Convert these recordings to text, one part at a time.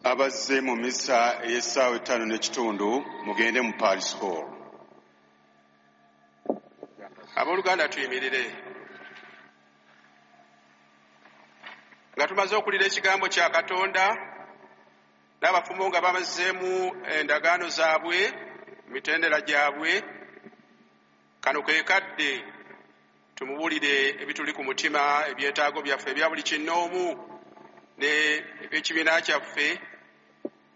Abazze mu misa ey'essaawa 5:15 mugende mu Paris Hall. Abooluganda tuyimirire. Nga tumaze okuwulira ekigambo kya Katonda n'abafumbo nga bamazeemu endagaano zaabwe, emitendera gyabwe, kano ke kadde tumubuulire ebituli ku mutima, ebyetaago byaffe ebya buli kinnoomu ne eby'ekibiina kyaffe,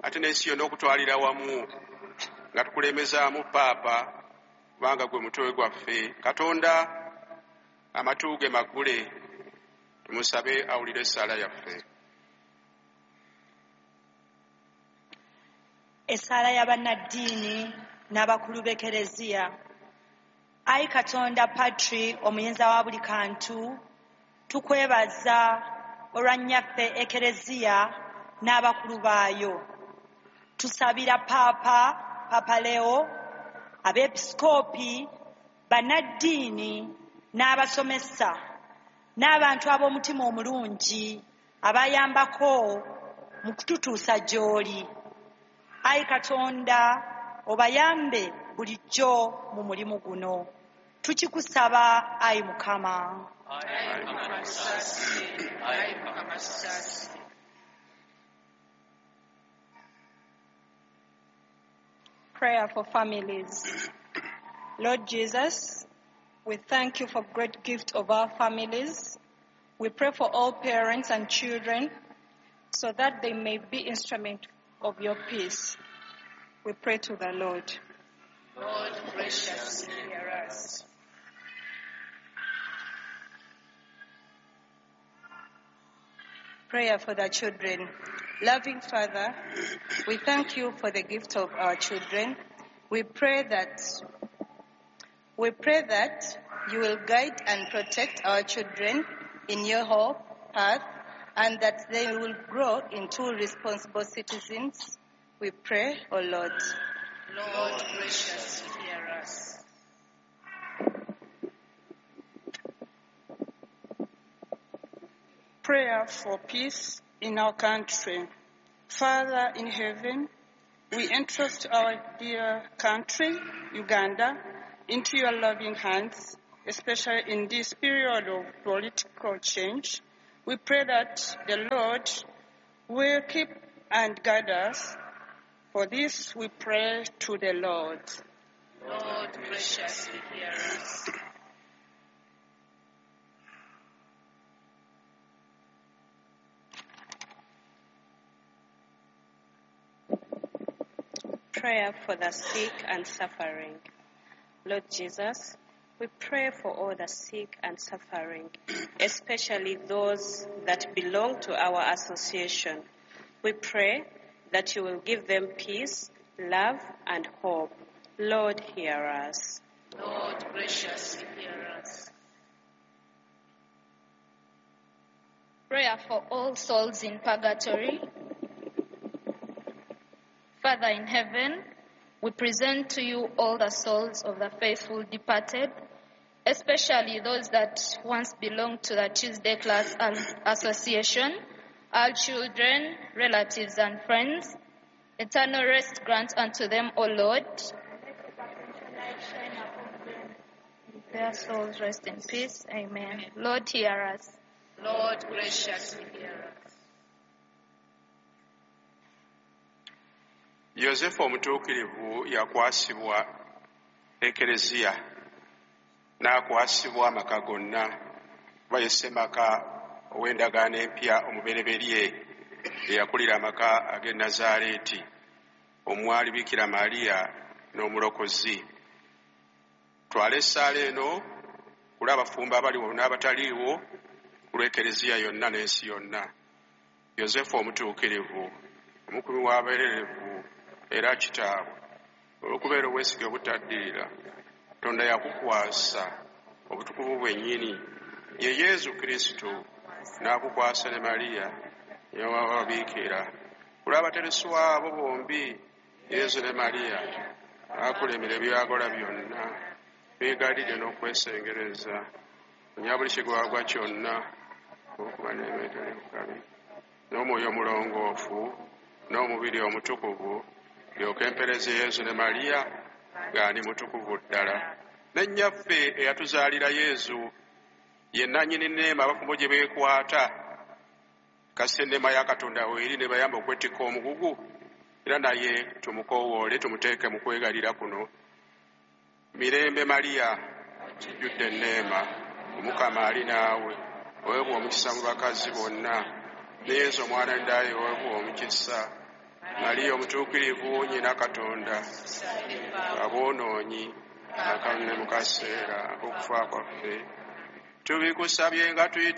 ate n'ensi yonna okutwalira wamu, nga tukulembezaamu Paapa, kubanga gwe mutwe gwaffe. Katonda amatu ge maggule, tumusabe awulire essaala yaffe. Essaala ya bannaddiini n'abakulu b'Ekereziya. Ayi Katonda Patri omuyinza wa buli kantu, tukwebaza olwa nnyaffe Ekereziya n'abakulu baayo. Tusabira Paapa, Papa Leo, abeepisikoopi, bannaddiini n'abasomesa n'abantu ab'omutima omulungi abayambako mu kututuusa gy'oli. Ayi Katonda, obayambe bulijjo mu mulimu guno. Tukikusaba, ayi Mukama. Prayer for families. Lord Jesus, we thank you for great gift of our families. We pray for all parents and children so that they may be instrument of your peace. We pray to the Lord. Lord, graciously hear us. Prayer for the children. Loving Father, we thank you for the gift of our children. We pray that you will guide and protect our children in your hope path, and that they will grow into responsible citizens. We pray, O Lord. Lord, graciously hear us. Prayer for peace in our country. Father in heaven, we entrust our dear country, Uganda, into your loving hands, especially in this period of political change. We pray that the Lord will keep and guide us. For this we pray to the Lord. Lord, graciously hear us. Prayer for the sick and suffering. Lord Jesus, we pray for all the sick and suffering, especially those that belong to our association. We pray that you will give them peace, love, and hope. Lord, hear us. Lord, graciously hear us. Prayer for all souls in purgatory. Father in heaven, we present to you all the souls of the faithful departed, especially those that once belonged to the Tuesday Class Association, our children, relatives, and friends. Eternal rest grant unto them, O Lord. Their souls rest in peace. Amen. Lord, hear us. Lord, graciously hear us. Yosefu omutuukirivu yakwasibwa Ekereziya n'akwasibwa amaka gonna, kuba ye ssemaka ow'endagaano empya omubereberye eyakulira amaka ag'e Nazaaleeti omwali Bikira Mariya n'omulokozi. Twala essaala eno ku lw'abafumbo abaliwo n'abataliiwo, ku lw'Ekereziya yonna n'ensi yonna. Yosefu omutuukirivu, omukulu w'abeererevu era kitaabwe, olw'okubeera obwesige obutaddirira, Katonda yakukwasa obutukuvu bwennyini, ye Yesu Kristo, n'akukwasa ne Mariya nyawababiikira. Ku lw'abatereswa abo bombi, Yesu ne Mariya, akulemera ebyagola byonna, beegalidde n'okwesengereza, onya buli kigwagwa kyonna, okuba n'ebeetali bukabi, n'omwoyo omulongoofu, n'omubiri omutukuvu, ndyoke mpereze Yezu ne Mariya nga ndi mutukuvu ddala. Ne nnyaffe eyatuzaalira Yezu, ye nannyini nneema abafumbo gye beekwata, kasita enneema ya Katonda weeri ne bayamba okwetikka omugugu, era naye tumukoowoole tumuteeke mu kwegalira kuno. Mirembe Mariya, ojjudde enneema, Omukama ali naawe, oweebwa omukisa mu bakazi bonna, ne Yezu omwana w'endayo oweebwa omukisa. Mariya omutuukirivu nnyina Katonda, aboonoonyi, kaakano ne mu kaseera ak'okufa kwaffe. Tubikusabye nga tuyita